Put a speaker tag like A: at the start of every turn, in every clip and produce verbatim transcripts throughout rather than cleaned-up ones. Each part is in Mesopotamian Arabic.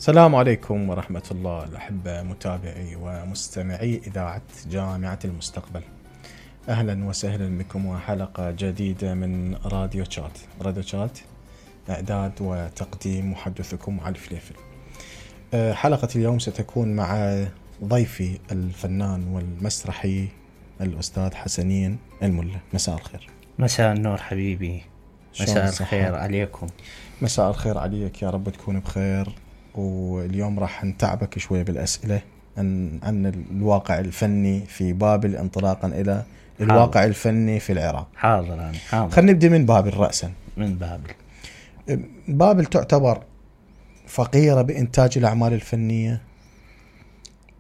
A: السلام عليكم ورحمة الله الأحبة متابعي ومستمعي إذاعة جامعة المستقبل. أهلا وسهلا بكم وحلقة جديدة من راديو شات. راديو شات إعداد وتقديم محدثكم علي الفليفل. حلقة اليوم ستكون مع ضيفي الفنان والمسرحي الأستاذ حسنين الملا. مساء الخير.
B: مساء النور حبيبي. مساء الخير عليكم.
A: مساء الخير عليك، يا رب تكون بخير. واليوم راح نتعبك شوي بالأسئلة عن, عن الواقع الفني في بابل انطلاقا إلى حاضر. الواقع الفني في العراق.
B: حاضر أنا حاضر.
A: خلينا نبدأ من بابل رأسا.
B: من بابل.
A: بابل تعتبر فقيرة بإنتاج الأعمال الفنية.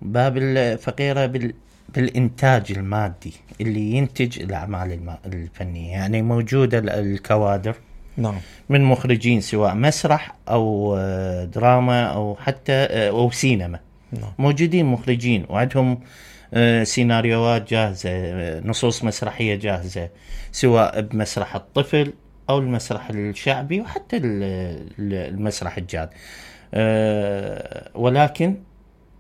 B: بابل فقيرة بال... بالإنتاج المادي اللي ينتج الأعمال الم... الفنية، يعني موجودة الكوادر.
A: نعم.
B: من مخرجين سواء مسرح أو دراما أو حتى أو سينما.
A: نعم.
B: موجودين مخرجين وعندهم سيناريوهات جاهزة، نصوص مسرحية جاهزة، سواء بمسرح الطفل أو المسرح الشعبي وحتى المسرح الجاد. ولكن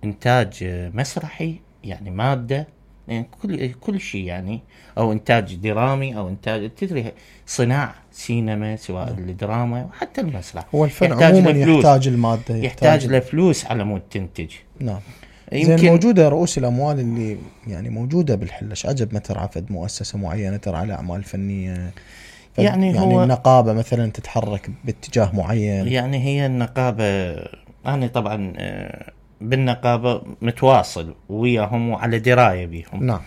B: إنتاج مسرحي يعني مادة، يعني كل كل شيء، يعني أو إنتاج درامي أو إنتاج تدري صناعة سينما سواء نعم. الدراما وحتى المسرح.
A: هو الفن عموما يحتاج المادة،
B: يحتاج, يحتاج لفلوس على مود تنتج.
A: نعم. زين موجودة رؤوس الأموال اللي يعني موجودة بالحلش، عجب ما ترعى فد مؤسسة معينة ترعى أعمال فنية،
B: يعني,
A: يعني
B: هو
A: النقابة مثلا تتحرك باتجاه معين.
B: يعني هي النقابة، أنا طبعا بالنقابة متواصل وياهم وعلى دراية بيهم.
A: نعم.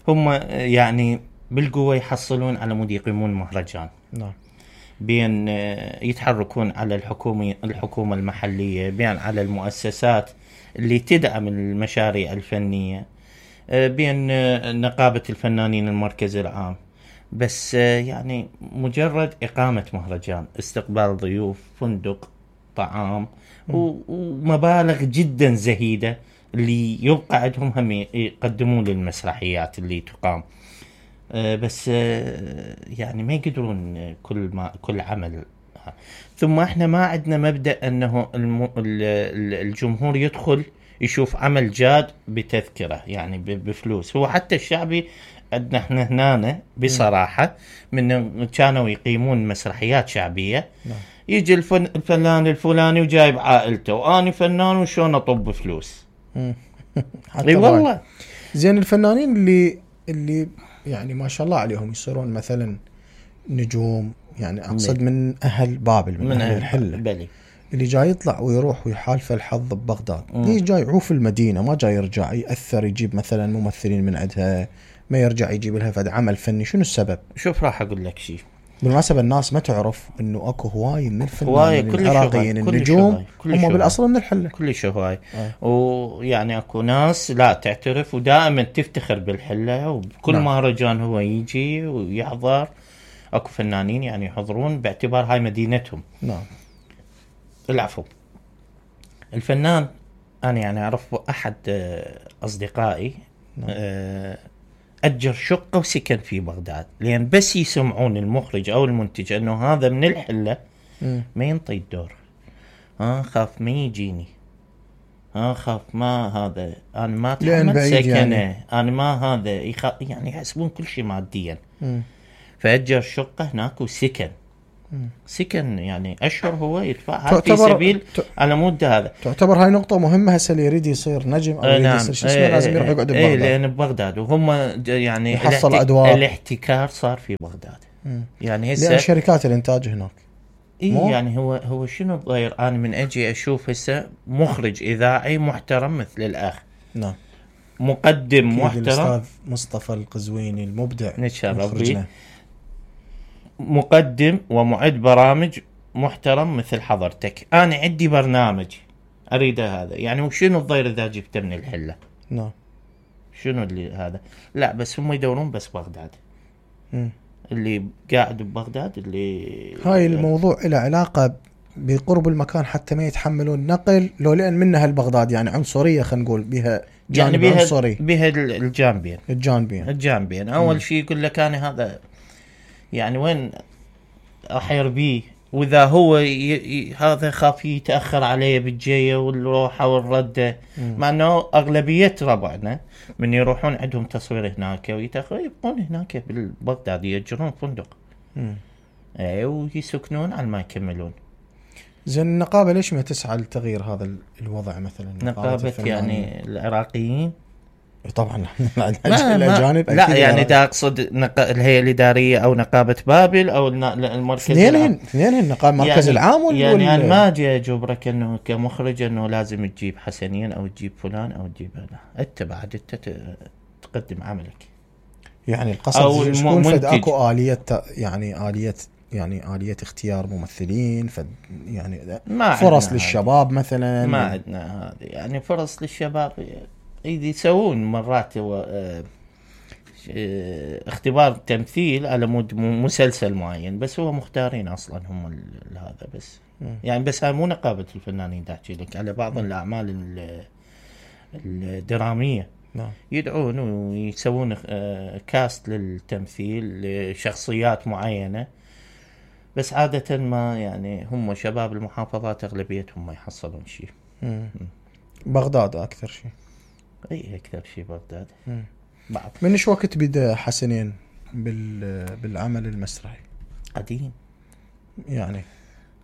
B: هم يعني بالقوة يحصلون على مود يقيمون مهرجان.
A: نعم.
B: بين يتحركون على الحكومة الحكومة المحلية، بين على المؤسسات اللي تدعم المشاريع الفنية، بين نقابة الفنانين المركز العام. بس يعني مجرد إقامة مهرجان، استقبال ضيوف، فندق، طعام ومبالغ جدا زهيدة اللي يبقى عندهم هم يقدمون للمسرحيات اللي تقام. بس يعني ما يقدرون كل ما كل عمل. ثم احنا ما عندنا مبدأ انه الجمهور يدخل يشوف عمل جاد بتذكرة، يعني بفلوس. هو حتى الشعبي عندنا احنا هنا بصراحة من كانوا يقيمون مسرحيات شعبية، يجي الفن الفنان الفلاني وجايب عائلته واني فنان وشون اطب فلوس. اي والله.
A: زين الفنانين اللي اللي يعني ما شاء الله عليهم يصيرون مثلا نجوم، يعني اقصد من اهل بابل، من, من اهل الحله
B: بلي.
A: اللي جاي يطلع ويروح ويحالف الحظ ببغداد، ليش جاي يعوف المدينه؟ ما جاي يرجع ياثر يجيب مثلا ممثلين من عندها، ما يرجع يجيب لها فد عمل فني؟ شنو السبب؟
B: شوف راح اقول لك شيء.
A: بالمناسبة الناس ما تعرف انه اكو هواي من الفنانين العراقيين النجوم هم بالاصل من الحله.
B: كل شيء هواي. آه. ويعني اكو ناس لا تعترف ودائما تفتخر بالحله، وبكل نعم. مهرجان هو يجي ويحضر. اكو فنانين يعني يحضرون باعتبار هاي مدينتهم.
A: نعم.
B: العفو. الفنان انا يعني اعرف احد اصدقائي نعم. آه أجر شقة وسكن في بغداد، لأن بس يسمعون المخرج أو المنتج أنه هذا من الحلة ما ينطي الدور. ها خاف ما يجيني، ها خاف ما هذا أنا ما تحمل سكنه يعني. أنا ما هذا يخ... يعني يحسبون كل شيء ماديا. م. فأجر شقة هناك وسكن. م. سكن يعني أشهر هو يدفع في سبيل ت... على مدة. هذا
A: تعتبر هاي نقطة مهمة. هسه اللي يريد يصير نجم أو يريد
B: نعم.
A: يصير شو اسمه لازم يروح يقعد ببغداد.
B: إيه لأن ببغداد وهم يعني
A: يحصل
B: الاحتك...
A: أدوار.
B: الاحتكار صار في بغداد. م. يعني هسه
A: لأن شركات الإنتاج هناك.
B: إيه يعني هو هو شنو غير أنا من أجي أشوف هسه مخرج إذاعي محترم مثل الأخ.
A: نعم.
B: مقدم محترم
A: الأستاذ مصطفى القزويني المبدع
B: مخرجنا، مقدم ومعد برامج محترم مثل حضرتك. أنا عندي برنامج أريده هذا، يعني وشنو الضير إذا جبته من الحلة؟
A: نعم.
B: شنو اللي هذا؟ لا بس هم يدورون بس بغداد.
A: م.
B: اللي قاعد ببغداد اللي
A: هاي الموضوع له علاقة بقرب المكان حتى ما يتحملون نقل، لو لأن منها البغداد يعني عنصرية، خلينا نقول بها جانب
B: يعني بيها
A: عنصري،
B: بها الجانبين
A: الجانبين
B: الجانبين أول شيء يقول لك أنا هذا يعني وين أحير بيه واذا هو ي... ي... هذا خاف يتاخر عليه بالجيه والروحه والرده، مع انه اغلبيه ربعنا من يروحون عندهم تصوير هناك ويتاخرون يبقون هناك بالبغداد يأجرون فندق اي ويسكنون على ما يكملون.
A: زين النقابه ليش ما تسعى لتغيير هذا الوضع مثلا؟
B: نقابه يعني العراقيين
A: طبعا الاجانب
B: لا يعني دا اقصد نق... الهيئه الاداريه او نقابه بابل او المركز
A: اثنينهن اثنينهن النقابه المركز
B: يعني
A: العام وال
B: يعني وال... ما اجي اجبرك انه كمخرج انه لازم تجيب حسنين او تجيب فلان او تجيب لا، انت بعد انت تقدم عملك.
A: يعني القصد يكون فد اكو اليه يعني اليه يعني آلية اختيار ممثلين فد يعني فرص للشباب هذه. مثلا
B: ما عندنا هذه يعني فرص للشباب يسوون مرات اختبار تمثيل على مود مسلسل معين بس هو مختارين اصلا هم هذا بس م. يعني بس هاي مو نقابة الفنانين تحكي لك على بعض م. الاعمال الدرامية نعم. يدعون ويسوون كاست للتمثيل لشخصيات معينة بس عادة ما يعني هم شباب المحافظات اغلبيتهم ما يحصلون شيء.
A: بغداد اكثر شيء.
B: اي اكثر شيء بغداد.
A: بعض من ايش وقت بدا حسنين بال بالعمل المسرحي؟
B: قديم
A: يعني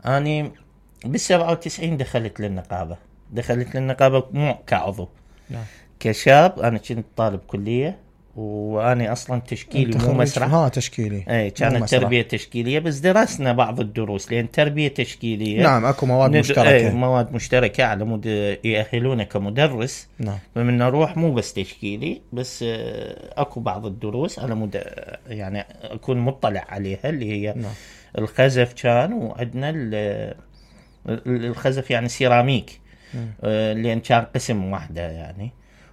B: اني بالسبعة وتسعين دخلت للنقابه دخلت للنقابه مو كعضو نعم. كشاب انا كنت طالب كليه واني اصلا تشكيلي مو مسرح.
A: ها تشكيلي
B: اي كانت تربيه تشكيليه بس درسنا بعض الدروس لان تربيه تشكيليه
A: نعم اكو مواد
B: ند...
A: مشتركه
B: اي مواد مشتركه على مود يأهلونه كمدرس
A: نعم.
B: فمن نروح مو بس تشكيلي بس اكو بعض الدروس على مود يعني اكون مطلع عليها اللي هي نعم. الخزف كان وعندنا الخزف يعني سيراميك لان كان قسم واحده يعني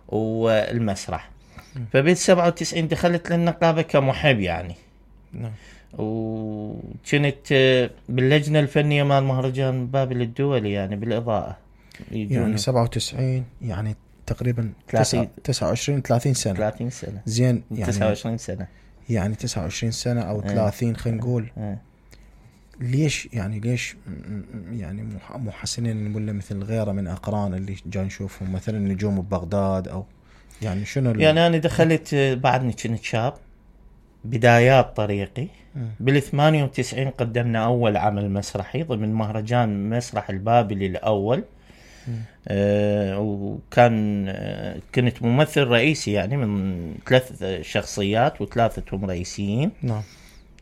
B: والمسرح. فبالسبعة وتسعين دخلت للنقابة كمحب يعني
A: نعم.
B: وكنت باللجنة الفنية مال مهرجان بابل الدولي يعني بالإضاءة
A: يعني سبعة وتسعين يعني تقريبا تسعة وعشرين ثلاثين سنة
B: ثلاثين سنة
A: زين يعني
B: تسعة وعشرين سنة
A: يعني تسعة وعشرين سنة أو ثلاثين خلينا نقول
B: اه.
A: ليش يعني ليش يعني مو حسنين ولا مثل غيره من أقران اللي جاي نشوفهم مثلا نجوم ببغداد أو يعني شنو
B: يعني أنا دخلت بعدني كنت شاب بدايات طريقي بالثمانية وتسعين قدمنا أول عمل مسرحي ضمن مهرجان مسرح البابلي الأول آه وكان آه كنت ممثل رئيسي يعني من ثلاث شخصيات وثلاثتهم رئيسيين
A: نعم.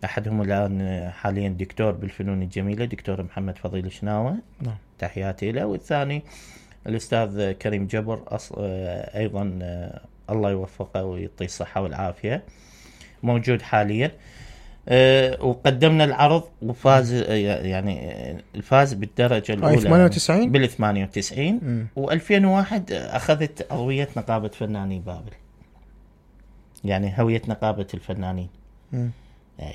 B: أحدهم الآن حاليا دكتور بالفنون الجميلة دكتور محمد فضيل شناوة
A: نعم.
B: تحياتي له، والثاني الأستاذ كريم جبر أص... أيضا الله يوفقه ويعطيه الصحة والعافية موجود حاليا. أه وقدمنا العرض وفاز يعني الفاز بالدرجة الأولى
A: ثمانية وتسعين
B: بال ثمانية وتسعين وألفين وواحد أخذت هوية نقابة فنانين بابل يعني هوية نقابة الفنانين أي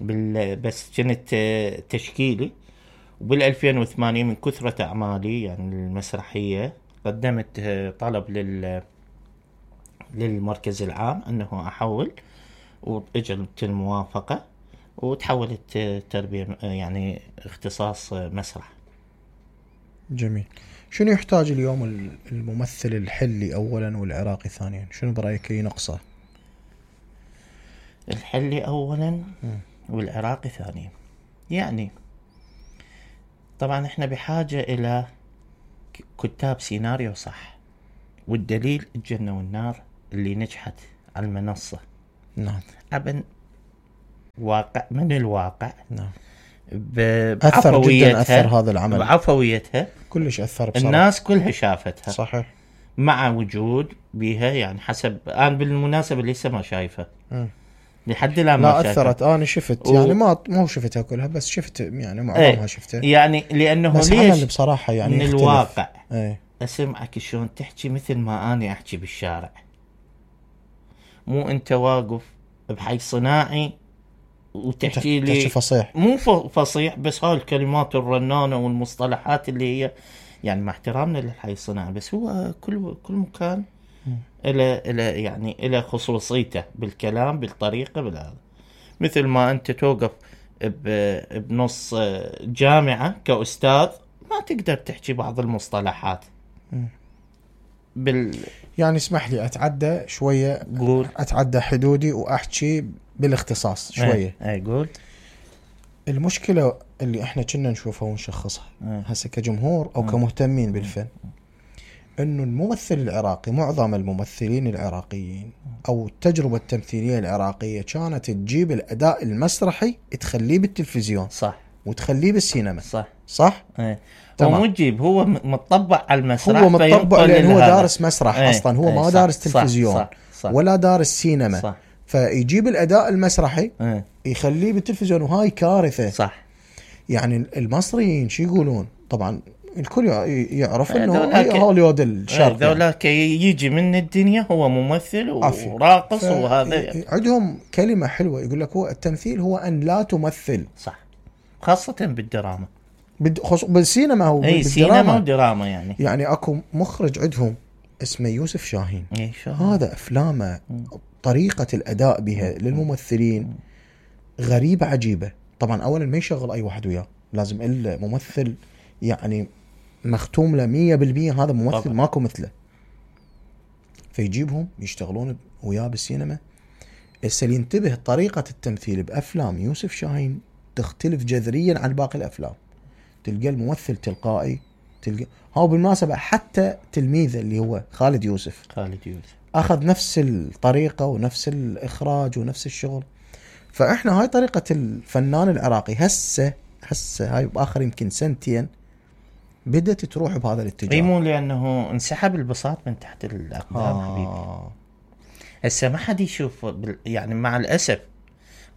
B: بال... بس كنت تشكيلي. وبالألفين وثمانية من كثرة أعمالي يعني المسرحية قدمت طلب لل للمركز العام أنه أحول وإجت الموافقة وتحولت تربية يعني اختصاص مسرح.
A: جميل. شنو يحتاج اليوم الممثل الحلي أولا والعراقي ثانيا؟ شنو برأيك ينقصه؟
B: الحلي أولا والعراقي ثانيا يعني طبعا احنا بحاجة الى كتاب سيناريو صح، والدليل الجنة والنار اللي نجحت على المنصة
A: نعم
B: ابن واقع من الواقع
A: نعم
B: أثر
A: جدا أثر هذا العمل
B: بعفويتها
A: كلش أثر بصراحة.
B: الناس كلها شافتها
A: صحيح
B: مع وجود بها يعني حسب أنا بالمناسبة لسه ما شايفة
A: م.
B: لحد الآن
A: لا أثرت أنا شفت و... يعني ما مو شفتها كلها بس شفت يعني معظمها
B: ايه
A: شفتها
B: يعني لأنه
A: بس
B: ليش
A: بصراحة يعني
B: من
A: يختلف.
B: الواقع
A: ايه
B: أسمعك شلون تحكي مثل ما أنا أحكي بالشارع مو أنت واقف بحي صناعي وتحكي لي
A: فصيح
B: مو فصيح بس هاي الكلمات الرنانة والمصطلحات اللي هي يعني مع احترامنا للحي الصناعي بس هو كل كل مكان إلى إلى يعني إلى خصوصيته بالكلام بالطريقة بالهذا مثل ما أنت توقف ب- بنص جامعة كأستاذ ما تقدر تحكي بعض المصطلحات بال
A: يعني اسمح لي اتعدى شويه،
B: قول.
A: اتعدى حدودي واحكي بالاختصاص شويه.
B: اي اي قول.
A: المشكله اللي احنا كنا نشوفها ونشخصها هسه كجمهور او كمهتمين بالفن، انه الممثل العراقي، معظم الممثلين العراقيين او التجربه التمثيليه العراقيه كانت تجيب الاداء المسرحي تخليه بالتلفزيون،
B: صح،
A: وتخليه بالسينما،
B: صح
A: صح.
B: ايه.
A: تمام.
B: هو مو تجيب، هو متطبع على المسرح،
A: هو متطبع لان هو دارس مسرح
B: ايه.
A: اصلا، هو
B: ايه.
A: ما
B: صح.
A: دارس تلفزيون،
B: صح. صح.
A: ولا دارس سينما،
B: صح.
A: فيجيب الاداء المسرحي
B: ايه.
A: يخليه بالتلفزيون، وهاي كارثه.
B: صح.
A: يعني المصريين شو يقولون؟ طبعا الكل يعرف انه
B: ذولاك-
A: هوليوود الشرق،
B: ايه ذولاك يجي من الدنيا، هو ممثل
A: عافية.
B: وراقص
A: ف-
B: وهذا.
A: عندهم كلمة حلوة يقول لك هو التمثيل هو أن لا تمثل،
B: صح، خاصة بالدراما.
A: بد- خص- بالسينما هو
B: اي سينما
A: بالدراما.
B: ودراما يعني.
A: يعني اكو مخرج عندهم اسمه يوسف شاهين،
B: اي شو
A: هذا افلامه طريقة الاداء بها للممثلين غريبة عجيبة. طبعا اولا ما يشغل اي واحد وياه، لازم الممثل يعني مختوم له مية بالمية، هذا ممثل
B: طبعا.
A: ماكو مثله، فيجيبهم يشتغلون وياه بالسينما. هسه ينتبه طريقة التمثيل بأفلام يوسف شاهين تختلف جذريا عن باقي الأفلام، تلقى الممثل تلقائي، تلقى هاو بالمناسبة حتى تلميذه اللي هو خالد يوسف
B: خالد يوسف
A: أخذ نفس الطريقة ونفس الإخراج ونفس الشغل. فإحنا هاي طريقة الفنان العراقي هسه هسه هاي بآخر يمكن سنتين بدأت تروح بهذا الاتجاه.
B: اي مو لأنه انسحب البساط من تحت الأقدام.
A: آه.
B: حبيبي هسه ما حد يشوف بال... يعني مع الأسف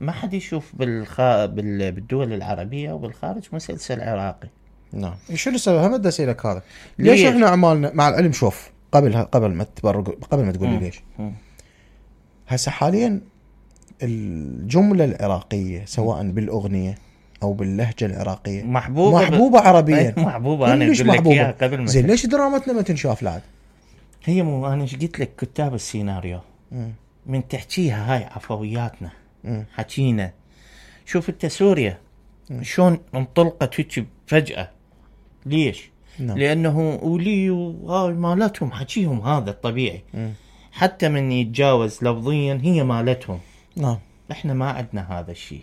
B: ما حد يشوف بالخ... بال... بالدول العربية وبالخارج مسلسل عراقي.
A: نعم. شنو السبب؟ هم بدي اسالك هذا، ليش, ليش احنا اعمالنا مع العلم؟ شوف قبل قبل ما تبرق، قبل ما تقول لي ليش، هسه حاليا الجمله العراقيه سواء بالاغنيه او باللهجه العراقيه
B: محبوبه
A: محبوبه ب... عربيا.
B: محبوبه. انا اقول لك اياها قبل ما
A: زين ليش درامتنا ما تنشاف لعد؟
B: هي مو انا ايش قلت لك، كتاب السيناريو
A: مم.
B: من تحكيها هاي عفوياتنا،
A: مم.
B: حكينا. شوف انت سوريا شلون انطلقت هيك فجأة، ليش؟
A: نعم.
B: لانه ولي وهاي مالتهم حكيهم هذا الطبيعي.
A: مم.
B: حتى من يتجاوز لفظيا هي مالتهم.
A: نعم.
B: احنا ما عندنا هذا الشيء.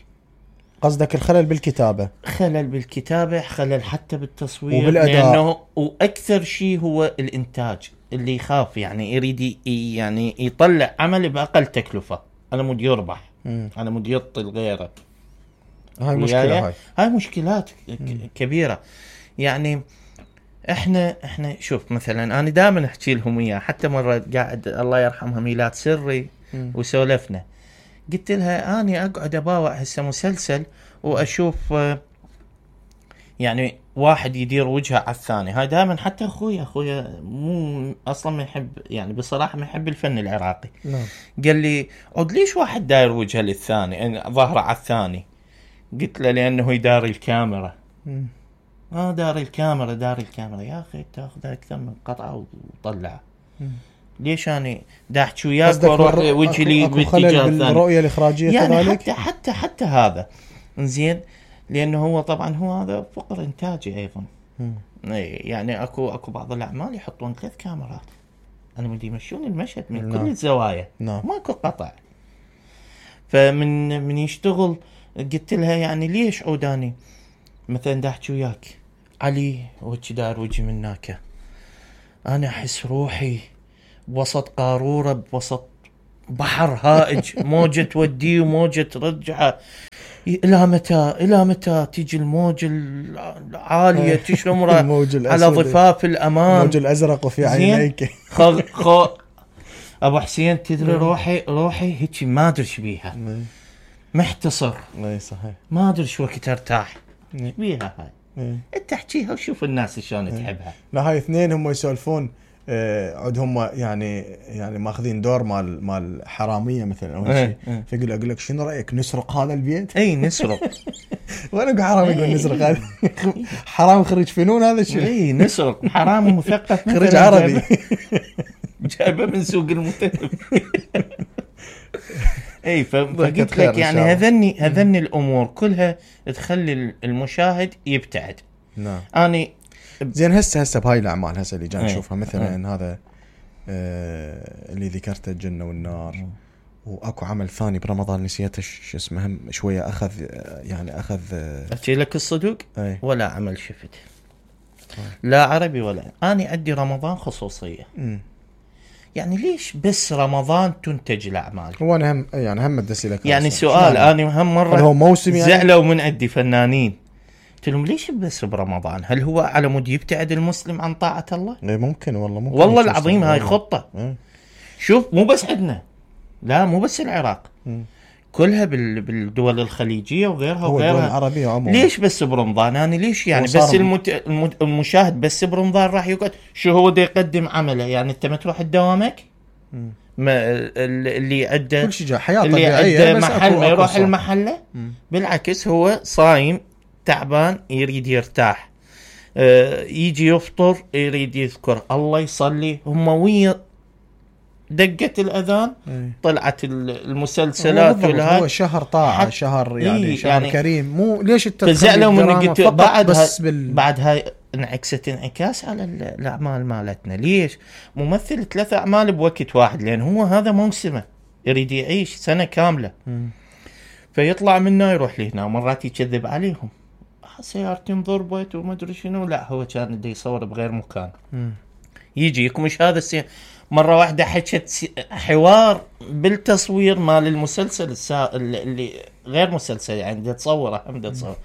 A: قصدك الخلل بالكتابه؟
B: خلل بالكتابه، خلل حتى بالتصوير
A: وبالاداء،
B: لانه واكثر شيء هو الانتاج اللي يخاف يعني يريد ي- يعني يطلع عمل باقل تكلفه. انا مود يربح،
A: مم.
B: انا مود يطل غيره.
A: هاي مشكله. هاي
B: هاي مشكلات ك- كبيره. يعني احنا احنا شوف مثلا انا دائما احكي لهم اياه، حتى مره قاعد الله يرحمها ميلاد سري
A: مم.
B: وسولفنا، قلت لها اني اقعد اباوع هسه مسلسل واشوف آه، يعني واحد يدير وجهه على الثاني. هاي دائما حتى اخويا اخويا مو اصلا ما يحب، يعني بصراحه ما يحب الفن العراقي.
A: نعم.
B: قال لي عود ليش واحد داير وجهه للثاني يعني ظهره على الثاني؟ قلت له لانه يداري الكاميرا.
A: مم.
B: اه داري الكاميرا داري الكاميرا يا اخي تاخذ اكثر من قطعه وطلعها.
A: مم.
B: ليش اني دا احكي وياك
A: قصدك
B: واروح
A: بالر-
B: وجهي لي
A: اكو خلل
B: باتجاه ثاني
A: بالرؤيه الاخراجيه
B: يعني
A: كذلك؟
B: حتى حتى حتى هذا زين، لانه هو طبعا هو هذا فقر انتاجي ايضا.
A: مم.
B: اي يعني اكو اكو بعض الاعمال يحطون ثلاث كاميرات، انا بدي يمشون المشهد من
A: نعم.
B: كل الزوايا،
A: نعم.
B: ماكو قطع. فمن من يشتغل قلت لها يعني ليش عوداني مثلا دا احكي وياك علي وجه دار وجهي من هناك، انا احس روحي بوسط قارورة بوسط بحر هائج، موجة توديه وموجة ترجعه. الى متى الى متى تيجي الموج العالية تشمره على ضفاف الامام،
A: الموج الازرق وفي عينيك.
B: خذ خذ ابو حسين تدري روحي روحي هيك ما ادري ايش بيها، محتصر.
A: اي صحيح.
B: ما ادري شو وقت ارتاح بيها هاي.
A: إيه.
B: انت احكيها وشوف الناس شلون تحبها.
A: لا هاي اثنين هم يسولفون آه، عود هم يعني يعني ماخذين دور مال مال حراميه مثلا او
B: إيه،
A: شيء،
B: إيه.
A: فيقول اقول لك شنو رايك نسرق هذا البيت؟
B: اي نسرق.
A: وانا اقول حرام يقول نسرق هذا حرام خريج فنون هذا الشيء.
B: اي نسرق حرام مثقف
A: خريج عربي
B: جايبه من سوق المتهم. اي فقلت لك يعني هذني هذني الامور كلها تخلي المشاهد يبتعد.
A: نعم.
B: اني
A: زين هسه هسه بهاي الاعمال هسه اللي جاي نشوفها مثلا هذا آه اللي ذكرته الجنة والنار، واكو عمل ثاني برمضان نسيته شو اسمه، هم شويه اخذ يعني اخذ
B: احكي لك الصدق
A: أي.
B: ولا عمل شفت لا عربي ولا اني عندي رمضان خصوصيه.
A: م.
B: يعني ليش بس رمضان تنتج الاعمال؟
A: هو انا هم يعني هم بدي لك
B: يعني سؤال انا هم مره
A: هو موسم يعني
B: زعلوا من عندي فنانين قلت لهم ليش بس برمضان؟ هل هو على مود يبتعد المسلم عن طاعه الله؟
A: اي ممكن والله ممكن
B: والله العظيم هاي خطه.
A: م.
B: شوف مو بس عندنا، لا مو بس العراق،
A: م.
B: كلها بالدول الخليجيه وغيرها وغيرها
A: العربيه عموما.
B: ليش بس برمضان؟ انا ليش يعني بس المت... المشاهد بس برمضان راح يقعد شو هو دا يقدم عمله؟ يعني انت ما تروح دوامك ما اللي عنده
A: كل شيء حياه
B: اللي
A: طبيعيه
B: عنده محل ما يروح المحله. بالعكس هو صايم تعبان يريد يرتاح، آه يجي يفطر يريد يذكر الله يصلي. هم ويا دقة الأذان
A: أي.
B: طلعت المسلسلات
A: هو شهر طاعة شهر يعني إيه شهر يعني شهر كريم. مو ليش
B: تزعلوا من قلت بعد
A: بس بال...
B: بعد هاي انعكست انعكاس على الأعمال مالتنا. ليش ممثل ثلاثة أعمال بوقت واحد؟ لأن هو هذا موسمه يريد يعيش سنة كاملة م. فيطلع منه يروح لهنا ومرات يكذب عليهم سيارتي انضربت وما ادري شنو. لا هو كان بده يصور بغير مكان م. يجي يكمش هذا السي... مرة واحدة حكت حوار بالتصوير مال المسلسل السا... اللي غير مسلسل يعني بدي تصوره هم بدي تصور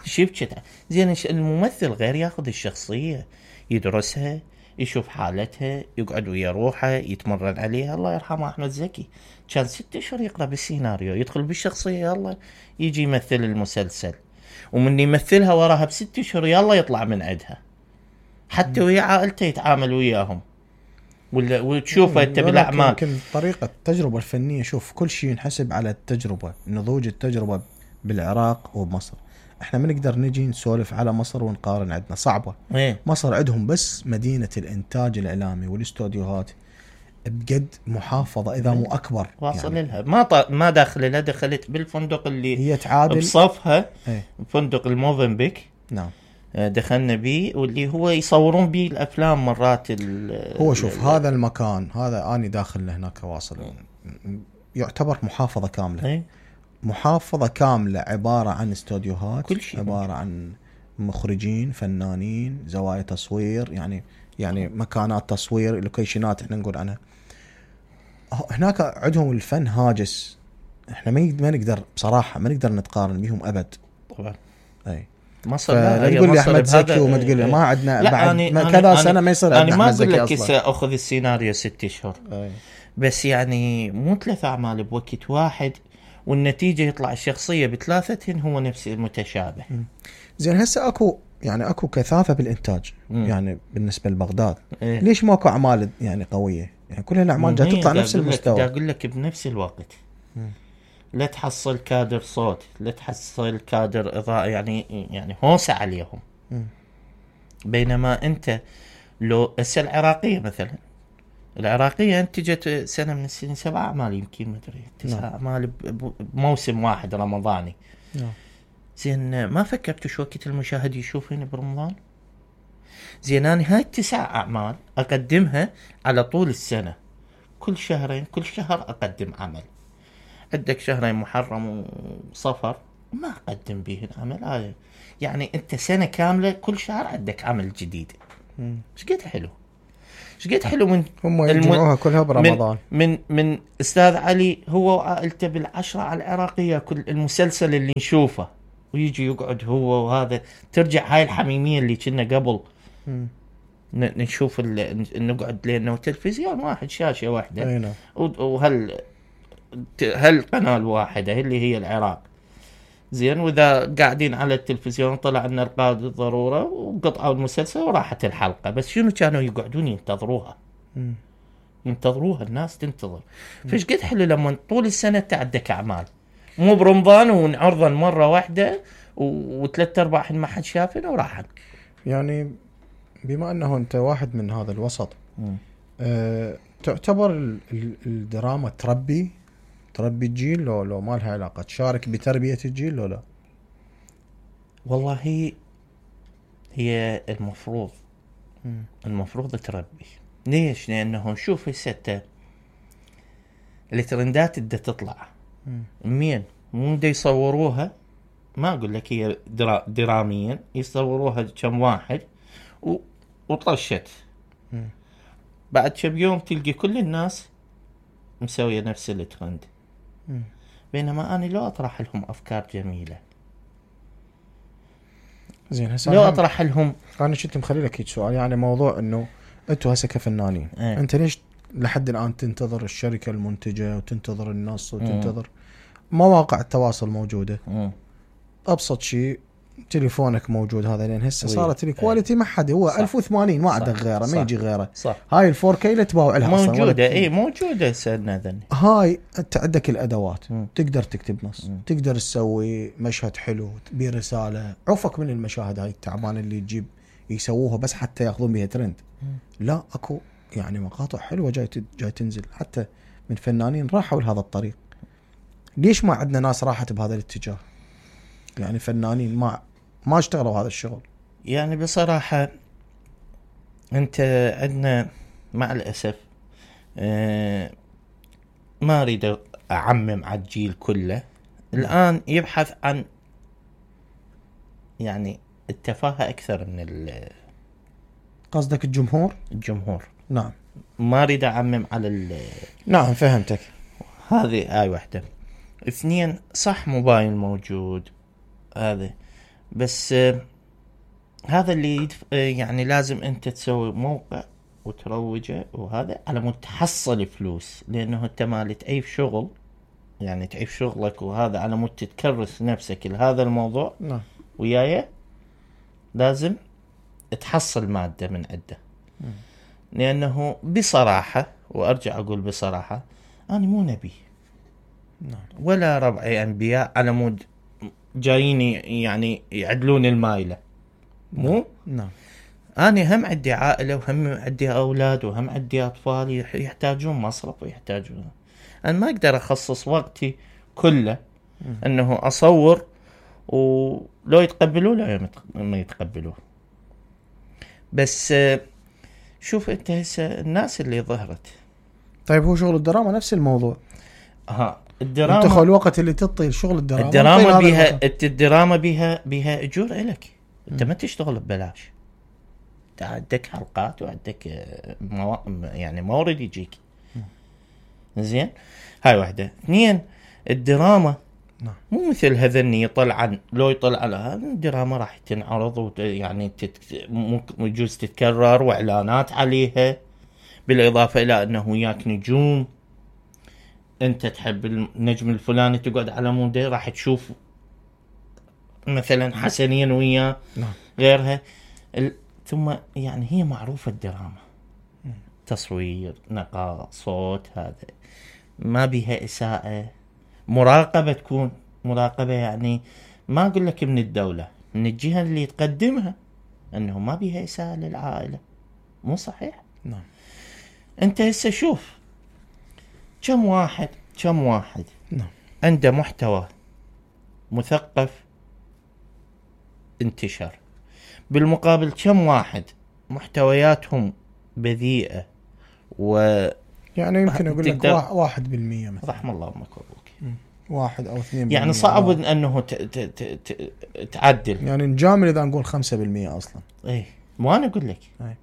B: شبكت زين. الممثل غير ياخذ الشخصية يدرسها يشوف حالتها يقعد ويا روحه يتمرن عليها. الله يرحمه أحمد زكي كان ستة أشهر يقرأ بالسيناريو يدخل بالشخصية يلا يجي يمثل المسلسل ومن يمثلها وراها بست أشهر يلا يطلع من عندها حتى ويا عائلته يتعامل وياهم ولا وتشوفه انت بالاعمال.
A: يمكن طريقه التجربه الفنيه. شوف كل شيء ينحسب على التجربه، نضوج التجربه بالعراق وبمصر. احنا ما نقدر نجي نسولف على مصر ونقارن، عندنا صعبه.
B: ايه؟
A: مصر عندهم بس مدينه الانتاج الاعلامي والاستوديوهات بجد محافظه اذا مو اكبر
B: واصل يعني. لها ما ط... ما داخل لها دخلت بالفندق اللي
A: هي تعادل
B: بصفها
A: ايه؟
B: فندق الموفنبيك.
A: نعم
B: دخلنا بيه واللي هو يصورون بيه الافلام مرات.
A: هو شوف ال هذا المكان هذا اني داخل هناك واصل يعتبر محافظه كامله.
B: ايه؟
A: محافظه كامله عباره عن استوديوهات،
B: كل شيء
A: عباره ممكن. عن مخرجين، فنانين، زوايا تصوير، يعني يعني مكانات تصوير، لوكيشنات احنا نقول عنها. هناك عندهم الفن هاجس، احنا ما نقدر بصراحه ما نقدر نتقارن بهم ابد
B: طبعا.
A: اي
B: مصر
A: لا تقول لي احمد زكي وما تقول لي ما عندنا بعد ما كذا سنه ما يصير
B: عندنا احمد زكي. انا ما اقول لك ساخذ السيناريو ست اشهر بس يعني مو ثلاث اعمال بوقت واحد والنتيجه يطلع الشخصيه بثلاثتهن هو نفس المتشابه.
A: زين هسه اكو يعني اكو كثافه بالانتاج م. يعني بالنسبه لبغداد
B: إيه؟
A: ليش ماكو اعمال يعني قويه؟ يعني كل الاعمال جايه تطلع نفس المستوى.
B: اقول لك بنفس الوقت م. لا تحصل كادر صوت، لا تحصل كادر اضاءه، يعني يعني هوسه عليهم. م. بينما انت لو هسه العراقيه مثلا، العراقيه انتجت سنه من السنين سبع اعمال يمكن ما ادري تسع اعمال بموسم واحد رمضاني.
A: نعم.
B: زين ما فكرت شو وقت المشاهد يشوفين برمضان؟ زين انا هاي التسع اعمال اقدمها على طول السنه، كل شهرين كل شهر اقدم عمل. عندك شهرين محرم وصفر ما اقدم بيهن عمل هاي، يعني انت سنه كامله كل شهر عندك عمل جديد. ايش قد حلو، ايش قد حلو من
A: هم يجمعوها كلها برمضان.
B: من من, من استاذ علي هو وعائلته بالعشرة على العراقيه، كل المسلسل اللي نشوفه ويجي يقعد هو وهذا، ترجع هاي الحميميه اللي كنا قبل م. نشوف نقعد لانه تلفزيون واحد شاشه واحده وهل هل قناه واحده اللي هي العراق. زين واذا قاعدين على التلفزيون طلع لنا القائد الضروره وقطعوا المسلسل وراحت الحلقه، بس شنو كانوا يقعدون ينتظروها م. ينتظروها الناس تنتظر. فايش قد حلو لما طول السنه تعدك اعمال مو برمضان ونعرضا مره واحده وثلاث ارباع ما حد شافنا وراحت.
A: يعني بما انه انت واحد من هذا الوسط أه تعتبر الدراما تربي تربي الجيل لو لو ما لها علاقة، تشارك بتربية الجيل لو لا؟
B: والله هي هي المفروض م. المفروض تربي. ليش؟ لأنه شوف هسه الترندات اللي تطلع مين مو دا يصوروها، ما أقول لك هي درا دراميا يصوروها كم واحد و... وطشت م. بعد كم يوم تلقي كل الناس مسوية نفس الترند. م. بينما أنا لو أطرح لهم أفكار جميلة،
A: زين هسه
B: لو أطرح لهم،
A: أنا شفت مخلي لك هيك سؤال، يعني موضوع إنه أنتوا هسه كفنانين
B: ايه.
A: أنت ليش لحد الآن تنتظر الشركة المنتجة وتنتظر النص وتنتظر م. مواقع التواصل موجودة؟ م. أبسط شيء تليفونك موجود هذا، لين هسه صارت الكواليتي ما حد هو ألف وثمانين ما عندك غيره، ما يجي غيره.
B: صح.
A: هاي الفور كي اللي تباوع لها
B: موجودة، اي موجودة سنة ذني.
A: هاي انت عندك الادوات م. تقدر تكتب نص م. تقدر تسوي مشهد حلو برسالة، عفك من المشاهد هاي التعبان اللي تجيب يسووها بس حتى ياخذون بها ترند. م. لا اكو يعني مقاطع حلوة جاي جاي تنزل حتى من فنانين راحوا لهذا الطريق. ليش ما عندنا ناس راحت بهذا الاتجاه؟ يعني فنانين ما ما اشتغلوا هذا الشغل.
B: يعني بصراحة انت عندنا مع الأسف اه ما اريد اعمم على الجيل كله الآن يبحث عن يعني التفاهة اكثر من
A: قصدك الجمهور
B: الجمهور
A: نعم.
B: ما اريد اعمم على ال
A: نعم فهمتك.
B: هذه آي واحدة. اثنين صح موبايل موجود هذا، بس آه هذا اللي يدف... آه يعني لازم انت تسوي موقع وتروجه وهذا على مود تحصل فلوس، لانه انت مالت اي شغل يعني تعيش شغلك وهذا على مود تتكرس نفسك لهذا الموضوع
A: نعم.
B: وياي لازم تحصل مادة من عنده. لانه بصراحة وارجع اقول بصراحة انا مو نبي
A: نعم.
B: ولا ربعي انبياء على مود جايين يعني يعدلون المايلة، مو
A: نعم.
B: أنا هم عندي عائلة وهم عندي أولاد وهم عندي أطفال يحتاجون مصرف ويحتاجون، أنا ما أقدر أخصص وقتي كله م. أنه أصور ولو يتقبلوا لا ما يتقبلوا. بس شوف أنت هسه الناس اللي ظهرت.
A: طيب هو شغل الدراما نفس الموضوع.
B: ها الدراما
A: انت الوقت اللي تعطي شغل الدراما
B: الدراما بيها الدراما بيها بيها اجور لك، انت ما تشتغل ببلاش، انت عندك حلقات وعندك مو... يعني مورد يجيك زين. هاي واحدة. اثنين الدراما
A: نعم.
B: مو مثل هذني طلعا لو يطلع على هذا الدراما راح تنعرض وت... يعني تت... ممكن يجوز تتكرر واعلانات عليها، بالاضافة الى انه وياك نجوم انت تحب النجم الفلاني تقعد على موده راح تشوف مثلا حسنين وياه غيرها ال... ثم يعني هي معروفة الدراما تصوير نقاء صوت هذا ما بيها إساءة، مراقبة تكون مراقبة يعني ما أقول لك من الدولة من الجهة اللي تقدمها أنه ما بيها إساءة للعائلة، مو صحيح؟
A: نعم.
B: أنت هسه شوف كم واحد كم واحد
A: نعم.
B: عنده محتوى مثقف انتشر، بالمقابل كم واحد محتوياتهم بذيئة و
A: يعني يمكن أقول لك واحد بالمية مثلا.
B: رحم الله أمك وأبوك.
A: واحد أو اثنين
B: يعني صعب واحد. أنه ت... ت... ت... تعدل
A: يعني نجامل إذا نقول خمسة بالمية أصلا.
B: إيه مو أنا أقول لك.
A: أي.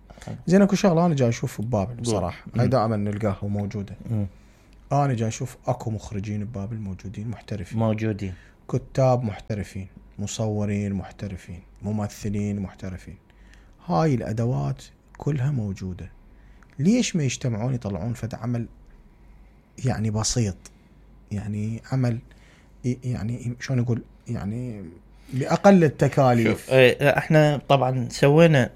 A: زين أكو شغلة أنا جاي أشوف ببابل بصراحة هاي دائما نلقاها موجودة. م. أنا جاي أشوف أكو مخرجين ببابل موجودين محترفين
B: موجودين،
A: كتاب محترفين، مصورين محترفين، ممثلين محترفين، هاي الأدوات كلها موجودة. ليش ما يجتمعون يطلعون فد عمل يعني بسيط، يعني عمل يعني شلون نقول يعني بأقل التكاليف؟
B: احنا طبعا سوينا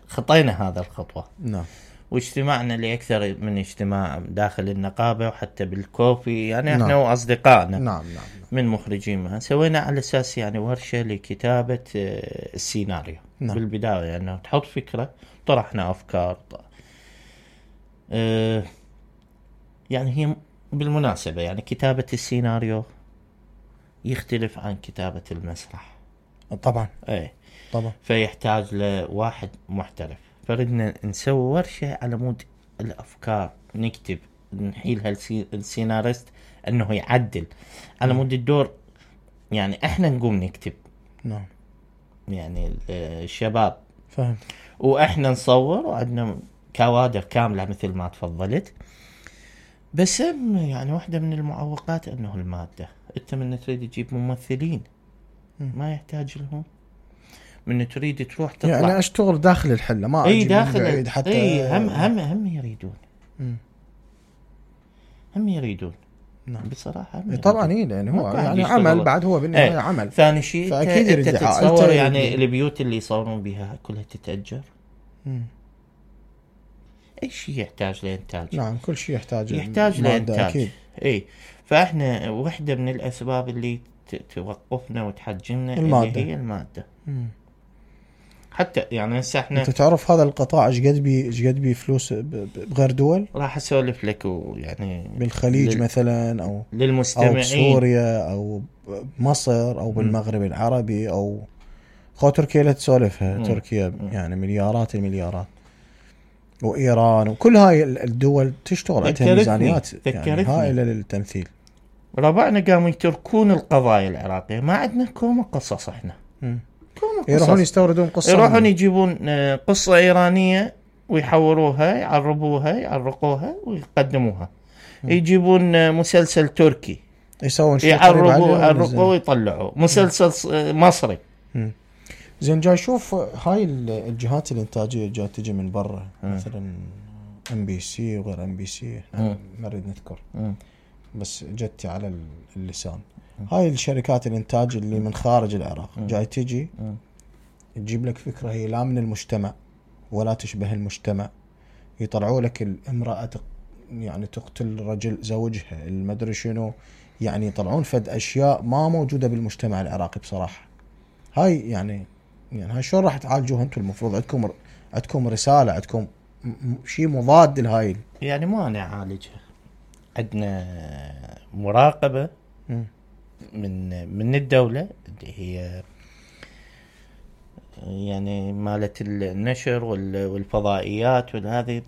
B: خطينا هذا الخطوة.
A: نعم.
B: واجتماعنا لأكثر من اجتماع داخل النقابة وحتى بالكوفي يعني احنا
A: نعم.
B: وأصدقائنا
A: نعم نعم.
B: من مخرجين سوينا على أساس يعني ورشة لكتابة السيناريو. نعم. بالبداية يعني أنه تحط فكرة طرحنا أفكار اه يعني هي بالمناسبة يعني كتابة السيناريو يختلف عن كتابة المسرح.
A: طبعا
B: ايه
A: طبعا.
B: فيحتاج لواحد محترف. فردنا نسوي ورشة على مود الأفكار، نكتب نحيلها السيناريست أنه يعدل على مود الدور. يعني إحنا نقوم نكتب،
A: نعم
B: يعني الشباب
A: فهمت،
B: وإحنا نصور، وعندنا كوادر كاملة مثل ما تفضلت. بس يعني واحدة من المعوقات أنه المادة. أنت من تريد تجيب ممثلين ما يحتاج لهم، من تريد تروح تطلع
A: يعني اشتغل داخل الحلة، ما
B: اي
A: اجي
B: داخل
A: من بعيد حتى.
B: اي هم هم هم يريدون
A: مم.
B: هم يريدون
A: نعم
B: بصراحة هم
A: طبعا. ايه يعني هو يعني
B: يشتغل.
A: عمل بعد، هو بالنهاية
B: ايه.
A: عمل.
B: ثاني شيء
A: فاكيد
B: انت
A: يريد
B: تتصور يعني
A: يريد.
B: البيوت اللي يصورون بها كلها تتأجر.
A: مم.
B: اي شيء يحتاج لإنتاج.
A: نعم كل شيء يحتاج
B: يحتاج لإنتاج
A: أكيد.
B: اي. فاحنا واحدة من الاسباب اللي توقفنا وتحجمنا
A: المادة.
B: اللي هي المادة.
A: مم.
B: حتى يعني هسه احنا
A: انت تعرف هذا القطاع ايش قد بي ايش قد بي فلوس بغير دول؟
B: راح اسولف لك ويعني
A: بالخليج
B: لل...
A: مثلا او
B: للمستمعين،
A: او بسوريا او بمصر او بالمغرب العربي او خو تركيا لا تسولفها.
B: مم.
A: تركيا
B: مم.
A: يعني مليارات المليارات، وايران وكل هاي الدول تشتغل عندها ميزانيات يعني هائله للتمثيل.
B: ربعنا قاموا يتركون القضايا العراقيه، ما عندنا كوم قصص احنا.
A: مم.
B: كوم قصص.
A: يروحون يستوردون قصه،
B: يروحون يجيبون قصه ايرانيه ويحوروها يعربوها يعرقوها ويقدموها. مم. يجيبون مسلسل تركي
A: يسوون شيء
B: يعربوا يعرقوا ويطلعوا مسلسل مصري.
A: مم. زين جاي شوف هاي الجهات الانتاجيه جاي تجي من برا، مثلا ام بي سي وغير ام بي سي ما نريد نذكر، مم. بس جتي على اللسان. مم. هاي الشركات الانتاج اللي من خارج العراق مم. جاي تجي مم. تجيب لك فكره هي لا من المجتمع ولا تشبه المجتمع. يطلعوا لك الامراه يعني تقتل رجل زوجها المدري شنو، يعني يطلعون فد اشياء ما موجوده بالمجتمع العراقي بصراحه. هاي يعني يعني هاي شلون راح تعالجوها انتم؟ المفروض عندكم عندكم رساله، عندكم شيء مضاد لهاي. يعني
B: ما نعالجها، عندنا مراقبه م. من من الدوله اللي هي يعني مالت النشر والفضائيات وهذه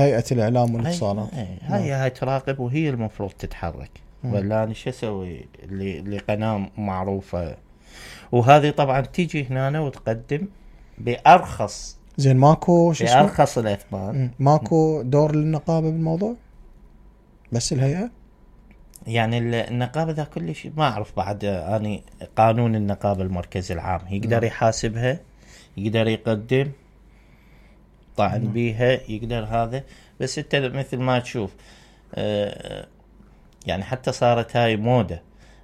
A: هيئه الاعلام والاتصالات.
B: هاي هاي, هاي تراقب وهي المفروض تتحرك. ولا انا شو اسوي لقناه معروفه؟ وهذه طبعا تيجي هنا وتقدم بأرخص.
A: زين ماكو شو اسمه
B: بأرخص الأثمان.
A: ماكو دور للنقابة بالموضوع؟ بس الهيئة
B: يعني النقابة ذا كل شيء ما أعرف بعد. أنا قانون النقابة المركزي العام يقدر م. يحاسبها، يقدر يقدم طعن م. بيها، يقدر هذا. بس أنت مثل ما تشوف آه يعني حتى صارت هاي موضة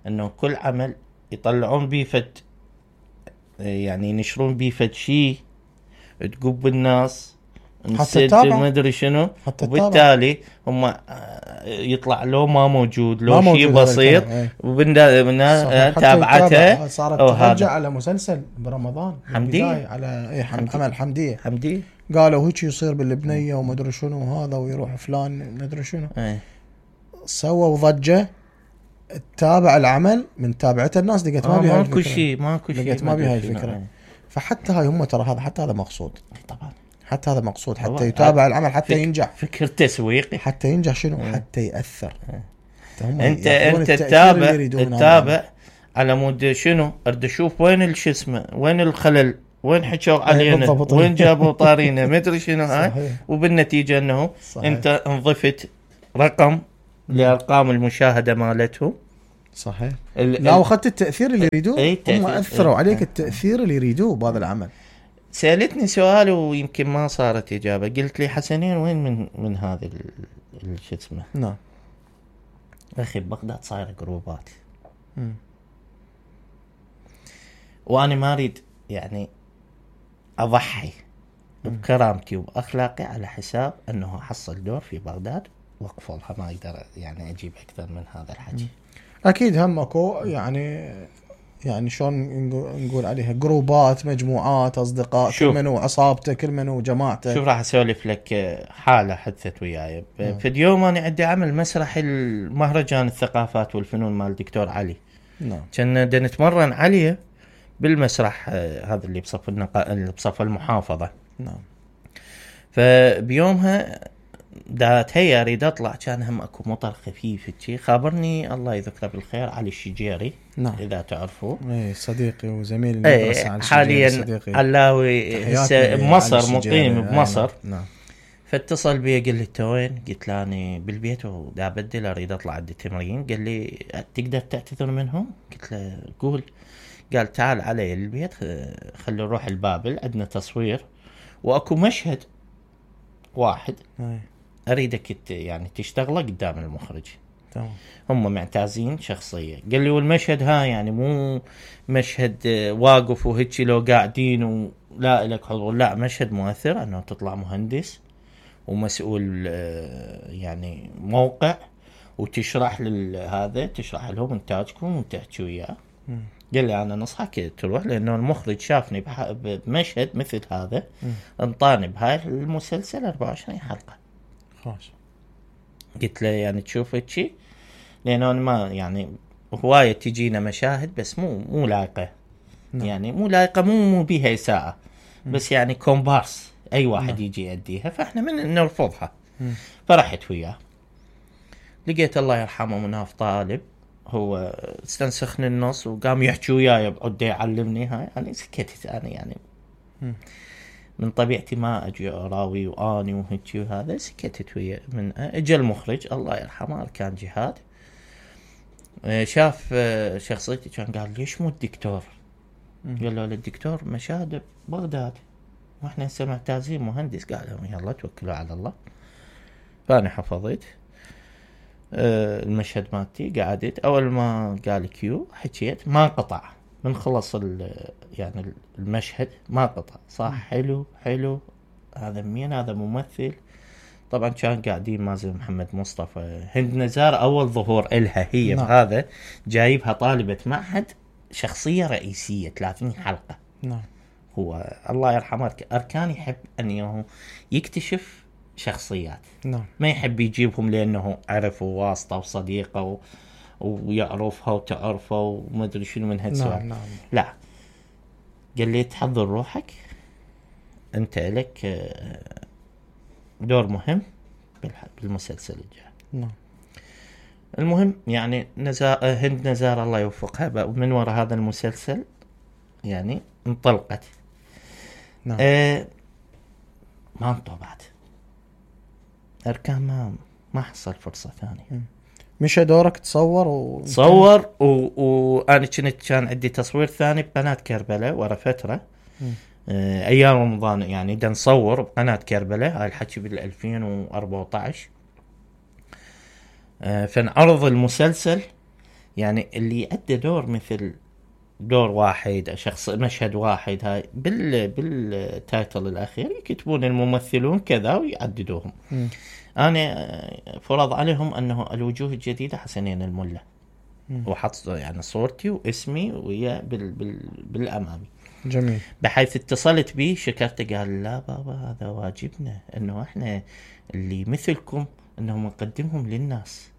B: أنه كل عمل يطلعون بيه فد يعني ينشرون بيه فد شيء تقوب الناس
A: حتى تتابع
B: ما ادري شنو، وبالتالي هم يطلع له ما موجود له شيء بسيط وبالنا تابعته.
A: صارت ترجع على مسلسل برمضان
B: حمدية
A: على ايه عمل حمدية
B: حمدية
A: قالوا هيك يصير باللبنية وما ادري شنو هذا ويروح فلان ما ادري شنو
B: ايه.
A: سووا ضجة تتابع العمل من تابعته الناس لقيت ما بيها
B: ماكو شيء ماكو شيء
A: لقيت ما بيها الفكرة. ايه. فحتى هاي هم ترى هذا حتى هذا مقصود
B: طبعا،
A: حتى هذا مقصود حتى يتابع العمل حتى
B: فك
A: ينجح.
B: فكر تسويقي
A: حتى ينجح شنو اه. حتى يأثر اه.
B: انت انت تتابع تتابع على مود شنو ارد اشوف وين الشسمه وين الخلل وين حكوا علينا وين جابوا طارينا ما ادري شنو هاي. وبالنتيجه انه صحيح. انت انضفت رقم لارقام المشاهده مالتهم.
A: صحيح. لا واخذت التاثير اللي يريدوه.
B: ايه
A: هم اثروا عليك التاثير اللي يريدوه بهذا العمل.
B: سألتني سؤال ويمكن ما صارت إجابة. قلت لي حسنين وين من من هذا شو اسمه؟
A: نعم
B: أخي ببغداد صاير جروبات م. وأنا ما أريد يعني أضحي م. بكرامتي وبأخلاقي على حساب أنه أحصل دور في بغداد وأقفلها. ما أقدر يعني أجيب أكثر من هذا الحكي.
A: م. أكيد همكو يعني يعني شلون نقول عليها جروبات، مجموعات، اصدقاء، كل منو عصابته، كل منو جماعته.
B: شوف راح اسولف لك حاله حدثت وياي. في اليوم انا عندي عمل مسرحي المهرجان الثقافات والفنون مال الدكتور علي.
A: نعم.
B: كنا نتمرن عليه بالمسرح هذا اللي بصف النقا... اللي بصف المحافظه.
A: نعم.
B: فبيومها دا تهيأ اريد اطلع، كان هم اكو مطر خفيف شي. خابرني الله يذكره بالخير علي الشجيري.
A: نعم.
B: اذا تعرفوه.
A: اي صديقي وزميل المدرسه.
B: عن حاليا علاوي بمصر، مقيم بمصر.
A: نعم.
B: فاتصل بي قال لي انت وين؟ قلت له اني بالبيت ودا ابدل اريد اطلع عندي تمرين. قال لي تقدر تعتذر منهم؟ قلت له قول. قال تعال علي البيت خلي نروح البابل، عندنا تصوير واكو مشهد واحد
A: أي.
B: اريدك يعني تشتغله قدام المخرج.
A: تمام.
B: هم معتازين شخصيه. قال لي والمشهد ها يعني مو مشهد واقف وهيك لو قاعدين ولا لك حضور، لا مشهد مؤثر انه تطلع مهندس ومسؤول يعني موقع وتشرح لهذا، تشرح لهم انتاجكم وتحكي وياه. قال لي انا نصحك تروح، لانه المخرج شافني بمشهد مثل هذا انطاني بهاي المسلسل أربعة وعشرين حلقه.
A: خلاص.
B: قلت له يعني تشوف هيك، لانه ما يعني هوايه تجينا مشاهد بس مو مو لايقه. نعم. يعني مو لايقه، مو مو بيها اساءه، بس يعني كومبارس اي واحد نعم. يجي يأديها، فاحنا من نرفضها. م. فرحت وياه. لقيت الله يرحمه مناف طالب هو استنسخني النص وقام يحكي وياي بعد يعلمني هاي. يعني سكتت انا يعني م. من طبيعتي ما اجي اراوي واني وهيك وهذا. سكتت ويا. من اجى المخرج الله يرحمه كان جهاد، شاف شخصيتي كان قال ليش مو الدكتور؟ قال له الدكتور مشاهد بغداد واحنا هسه معتازين مهندس. قال لهم يلا توكلوا على الله. فانا حفظت المشهد مالتي، قعدت اول ما قال كيو حكيت ما قطع من خلص يعني المشهد ما قطع. صح حلو حلو هذا مين؟ هذا ممثل. طبعا كان قاعدين مازن محمد مصطفى، هند نزار اول ظهور إلها هي نعم. بهذا جايبها طالبة معهد شخصية رئيسية ثلاثين حلقة.
A: نعم.
B: هو الله يرحمه أركان يحب أنه يكتشف شخصيات.
A: نعم.
B: ما يحب يجيبهم لأنه عرفه واسطة وصديقة و... ويعرفها وتعرفه وما أدري شنو من هالسوالف.
A: نعم. نعم.
B: لا، قال لي تحضر روحك أنت لك دور مهم بالمسلسل الجاي.
A: نعم.
B: المهم يعني نزار هند نزار الله يوفقها من وراء هذا المسلسل يعني انطلقت.
A: نعم.
B: آه ما انطبعت أركان، ما ما حصل فرصة ثانية.
A: مش دورك تصور و...
B: تصور وأنا و... كنت كان عندي تصوير ثاني بقناة كربلاء ورا فترة. آه أيام رمضان يعني دا نصور بقناة كربلاء. هاي الحكي بالألفين وأربعة عشر. آه فنعرض المسلسل يعني اللي أدى دور مثل دور واحد شخص مشهد واحد هاي بال بالتايتل الأخير يكتبون الممثلون كذا ويعددوهم. م. أنا فرض عليهم أنه الوجوه الجديدة حسنين الملة، وحط يعني صورتي واسمي ويا بال بال بالأمامي.
A: جميل.
B: بحيث اتصلت بي شكرته قال لا بابا هذا واجبنا أنه إحنا اللي مثلكم أنه نقدمهم للناس.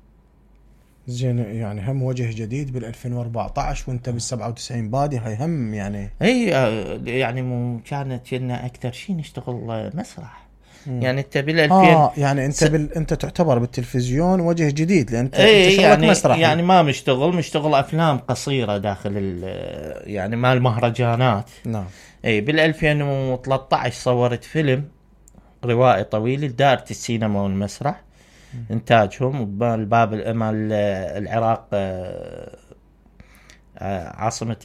A: زين يعني هم وجه جديد بالألفين وأربعة عشر وانت بالسبعة وتسعين بادي، هاي هم يعني
B: اي يعني مو كانت لنا اكثر شيء نشتغل مسرح. مم. يعني انت بالألفين
A: اه يعني انت س... بال... انت تعتبر بالتلفزيون وجه جديد لان انت
B: اي يعني مسرح يعني ما مشتغل مشتغل افلام قصيره داخل يعني مال المهرجانات.
A: نعم.
B: اي بالألفين وثلاثة عشر صورت فيلم روائي طويل دارت السينما والمسرح. انتاجهم بباب مال العراق عاصمة